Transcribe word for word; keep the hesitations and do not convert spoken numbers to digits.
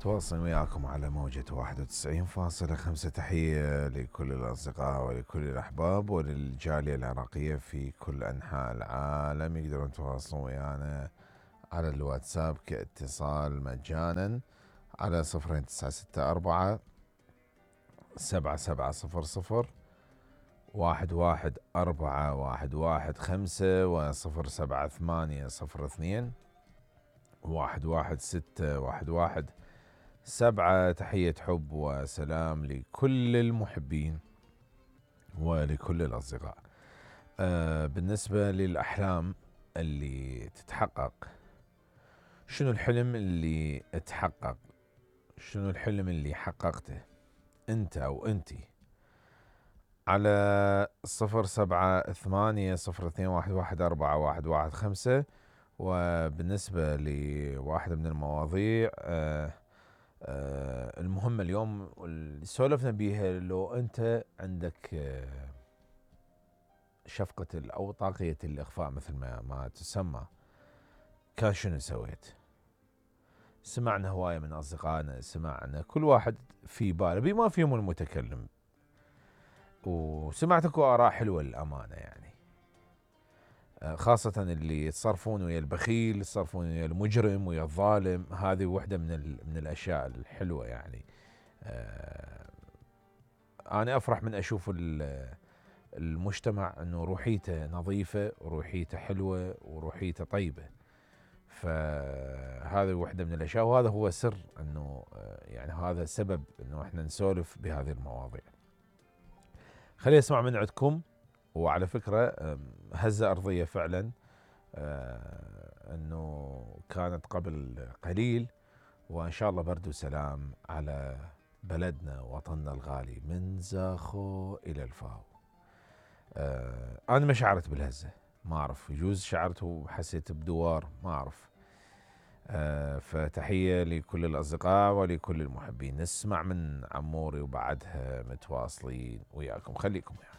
تواصل وياكم على موجة واحد وتسعين فاصلة خمسة. تحية لكل الأصدقاء ولكل الأحباب وللجالية العراقية في كل أنحاء العالم. يقدرون يتواصلون ويانا على الواتساب كاتصال مجانا على صفرين تسعة ستة أربعة سبعة سبعة صفر صفر واحد واحد أربعة واحد واحد خمسة وصفر سبعة ثمانية صفر اثنين واحد واحد ستة واحد واحد سبعة. تحية حب وسلام لكل المحبين ولكل الأصدقاء. أه بالنسبة للأحلام اللي تتحقق، شنو الحلم اللي اتحقق؟ شنو الحلم اللي حققته انت او انتي؟ على صفر سبعة ثمانية صفر اثنين واحد واحد أربعة واحد واحد خمسة. وبالنسبة لواحدة من المواضيع أه أه المهمة اليوم اللي سولفنا بيها، لو انت عندك أه شفقة او طاقية الاخفاء مثل ما, ما تسمى، كان شنو سويت؟ سمعنا هواية من اصدقائنا، سمعنا كل واحد في باله بما فيهم المتكلم، وسمعت اكو اراء حلوة للامانة، يعني خاصة اللي يتصرفون ويا البخيل، يتصرفون ويا المجرم ويا الظالم. هذه وحدة من من الاشياء الحلوة يعني. آه انا افرح من اشوف المجتمع انه روحيته نظيفة وروحيته حلوة وروحيته طيبة. فهذه وحدة من الاشياء، وهذا هو سر انه يعني هذا سبب انه احنا نسولف بهذه المواضيع. خليني اسمع من عندكم. وعلى فكرة هزة ارضية فعلا انه كانت قبل قليل، وان شاء الله برد وسلام على بلدنا وطننا الغالي من زاخو الى الفاو. انا ما شعرت بالهزة، ما اعرف، يجوز شعرت وحسيت بدوار، ما اعرف. فتحية لكل الاصدقاء ولكل المحبين. نسمع من عموري وبعدها متواصلين وياكم، خليكم يعني.